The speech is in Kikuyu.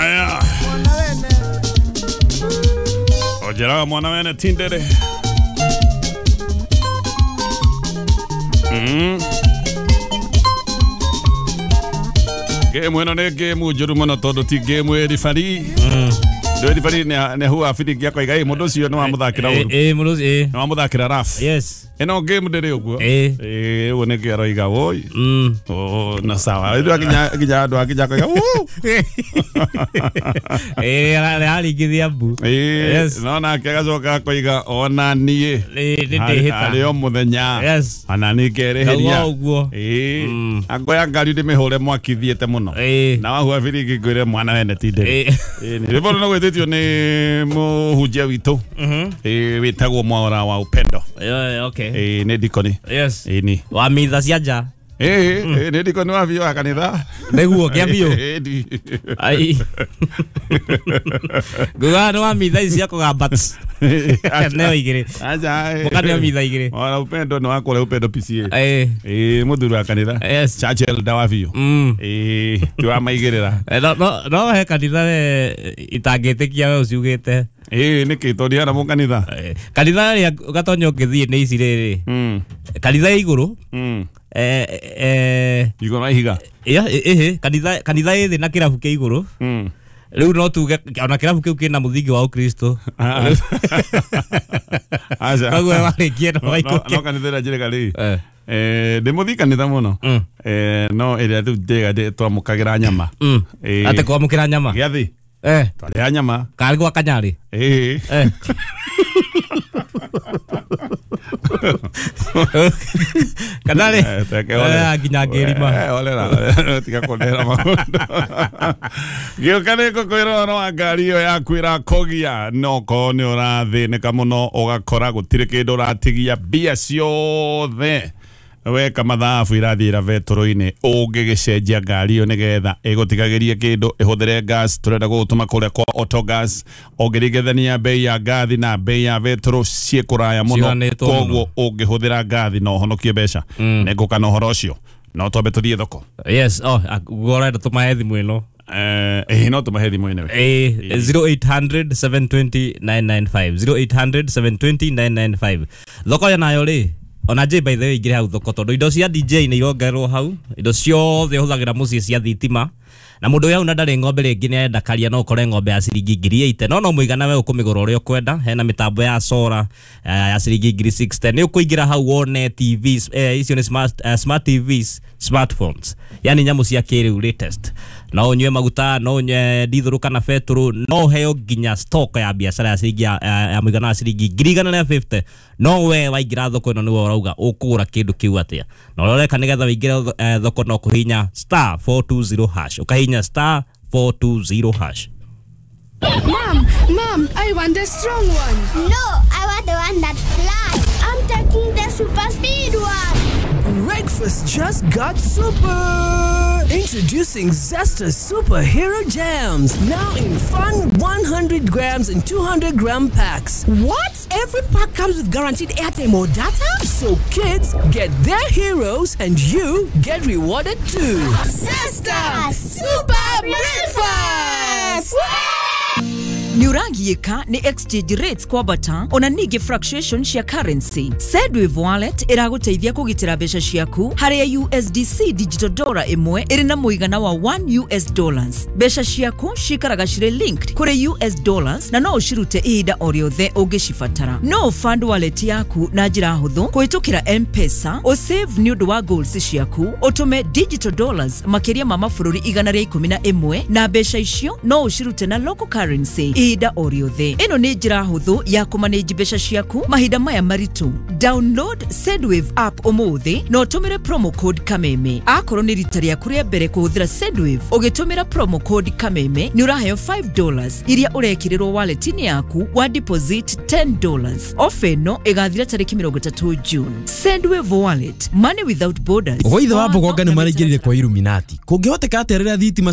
Aya. Ojeraga mwana wene tindere. Game ĩno nĩ game njũru mũno tondũ ti game ĩrĩ bari. Ndũ bari nĩ huwa biringi akoiga ĩ mũndũ ũcio nĩ wamũthakĩra ũru. Ĩ mũndũ ũcio nĩ wamũthakĩra rough. Yes. Ĩno game ndĩrĩ ũguo. Ĩ ũguo nĩkĩo aroiga woi. Oh, na sawa. Rĩu akinya akinya andũ akinya akoiga wuu. Ĩ araringithia mbu. Ĩ no nake agacoka akoiga ona niĩ. Nĩ ndĩhĩta. Harĩ o mũthenya. Yes. Ona niĩ ngerĩhĩria. Ũguo. Ĩ angoya ngari ndĩmĩhũre mwaki thiĩte mũno. Na wahua biringi ngwĩre mwana wene ti ndĩrĩ. Ĩ rwĩmbo rũu gwĩtĩtio nĩ mũhunjia witũ. Ĩ wĩtagwo Mwaura wa Upendo. Okay. Ĩ nĩ dikoni. Yes. Ĩ ni. Wa mitha cia nja. Ĩ nĩ dikoni wa biũ wa kanitha. Nĩguo kĩa biũ. Ai. Nguga nĩ wa mitha ici cia kũgamba. Neo igĩrĩ. Acha. Mũkaneo mitha igĩrĩ. Mwaura Upendo nĩ wa kũrĩa Upendo PCA. Ĩ. Ĩ mũthuri wa kanitha. Yes. Church elder wa biũ. Ĩ ti wa maigĩrĩra. No no he kanitha we itangĩtĩkia we ũciugĩte. Ĩ nĩkĩ tondũ ndiana mũkanitha. Kanitha ĩrĩa gatonya ũngĩthiĩ nĩ ici rĩrĩ. Kanitha ya igũrũ. Igũrũ wa ihiga. Ĩhĩ kanitha kanitha ĩ thĩ na kĩrabu kĩa igũrũ. Rĩu no tuge ona kĩrabu kĩu kĩna mũthingi wa Ũkristo. Aca. Koguo warĩkia no waikũke. No kanitha ĩrĩa njĩrĩga rĩ. Ndĩ mũthii kanitha mũno. No ĩrĩa rĩu njĩrĩga twamũkagĩra nyama. Atĩ kwamũkĩra nyama. Gĩathĩ. Twarĩa nyama. Karĩ gwa Kanyarĩ. Ĩ. Kanarĩ. Nginya ngĩrima. Olera tiga kũndehera maũndũ. Gĩũka nĩ ngũkwĩra ũhoro wa ngari ĩyo yaku ĩrakogia no korwo nĩ ũrathĩnĩka mũno ũgakora gũtirĩ kĩndũ ũratigia mbia ciothe weka mathabu irathiĩra betũrũ-inĩ ũngĩgĩcenjia ngari ĩyo nĩgetha ĩgũtigagĩrie kĩndũ ĩhũthĩre gas tũrenda gũgũtũma kũrĩa kwa Autogas ũngĩringithania bei ya ngathi na bei ya betũrũ ciĩ kũraya mũno koguo ũngĩhũthĩra ngathi no ũhonokie mbeca. Nĩngũka na ũhoro ũcio no twambe tũthiĩ thoko. Yes, oh ũrenda tũmahe thimũ ĩno. Ĩ no tũmahe thimũ ĩno. Ĩ 0800 720 995 0800 720 995 thoko nayo rĩ ona J by the way ingire hau thoko tondu indo cia DJ nĩ irongererwo hau indo ciothe ũhũthagĩra mũciĩ cia thitima na mũndũ ũyũ hau na ndarĩ ng'ombe rĩngĩ nĩ arenda karia no ũkore ng'ombe ya ciringi 80,000 no no mũigana we ũkũmĩgũra ũrĩa ũkwenda hena mĩtambo ya solar ya ciringi 60,000 nĩ ũkũingĩra hau wone TVs icio nĩ smart TVs smartphones yani nyamũ cia kĩrĩu latest no ũnyue maguta no ũnyue dithũrũ kana betũrũ no ũheo nginya stock ya biacara ya ciringi ya mũigana wa ciringi 150,000 no we waingĩra thoko ĩno nĩwe ũrauga ũkũgũra kĩndũ kĩu atĩa na ũrĩa ũreka nĩgetha wĩingĩre thoko no kũhihinya *420# ũkahihinya *420#. Mom, Mom, I want the strong one. No, I want the one that flies. I'm taking the super speed one. Breakfast just got super. Introducing Zesta Superhero Jams, now in fun 100 grams and 200 gram packs. What? Every pack comes with guaranteed airtime or data? So kids get their heroes and you get rewarded too. Zesta Super Breakfast! Nĩũragiĩka nĩ exchange rates kwambata ona ningĩ fluctuation cia currency. Sendwave Wallet ĩragũteithia kũgitĩra mbeca ciaku harĩa USDC digital dollar ĩmwe ĩrĩ na mũigana wa 1 US dollars. Mbeca ciaku cikaraga cirĩ linked kũrĩ US dollars na no ũcirute ihinda o rĩothe ũngĩcibatara. No fund wallet yaku na njĩra hũthũ kũhĩtũkĩra M-Pesa, ũsave nĩ ũndũ wa goals ciaku, ũtũme digital dollars makĩria ma mabũrũri 111 na mbeca icio no ũcirute na local currency ihinda o rĩothe. Ĩno nĩ njĩra hũthũ ya kũmanage mbeca ciaku mahinda maya maritũ. Download Sendwave app ũmũthĩ na ũtũmĩre promo code Kameme. Akorwo nĩ rita rĩaku rĩa mbere kũhũthĩra Sendwave ũgĩtũmĩra promo code Kameme nĩ ũraheo $5 iria ũrekĩrĩrwo wallet-inĩ yaku wa deposit $10. Ofa ĩno ĩgathira tarĩki 30 June. Sendwave Wallet, money without borders. Gwa ithe wa Mbogonga nĩ maraingĩrire kwa Illuminati. Kũngĩhoteka atĩa rĩrĩa thitima